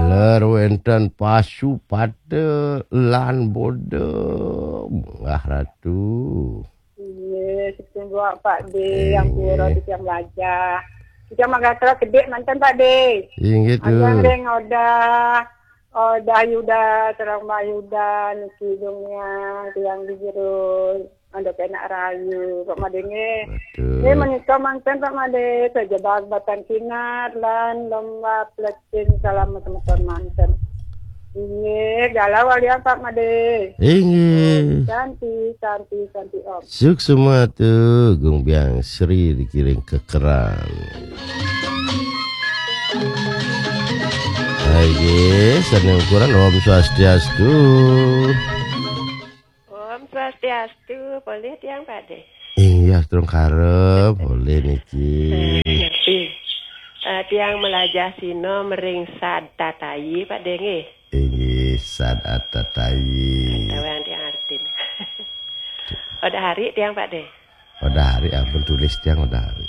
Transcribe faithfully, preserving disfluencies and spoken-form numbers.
Ler wénten pasu pate lan bodem, Mbah Ratu. Inggih, sugeng Pak De, ampura titiang melajah. Titiang magatra gedé manten, Pak De. Inggih, Tuh. Aliang ring Odah, Odah Yuda, sareng Mbah Yuda, niki dongéang, tiang di jero, andhap enak rahayu, Pak Made nggih. Betul. Nggih, menika manten, Pak Made, saja bal-batan sinar lan lomba pletin salam semeton manten. Inggih, galah walian, Pak Made. Inggih. Santi, santi, santi, Om. Suksma tu, Gung Biang Sri dikiring kekeran. Inggih, sané ukuran Om Swastiastu. Om Swastiastu, polih tiang, Pak De? Inggih, atur karep, polih niki. Eh, ngerti. Eh, tiang melajah sina mering sad tatayi, Pak De, nggih. Inggih, sad atatayi. Tawang tiang artin. Odah hari tiang, Pak De? Odah hari, ampun tulis tiang odah hari.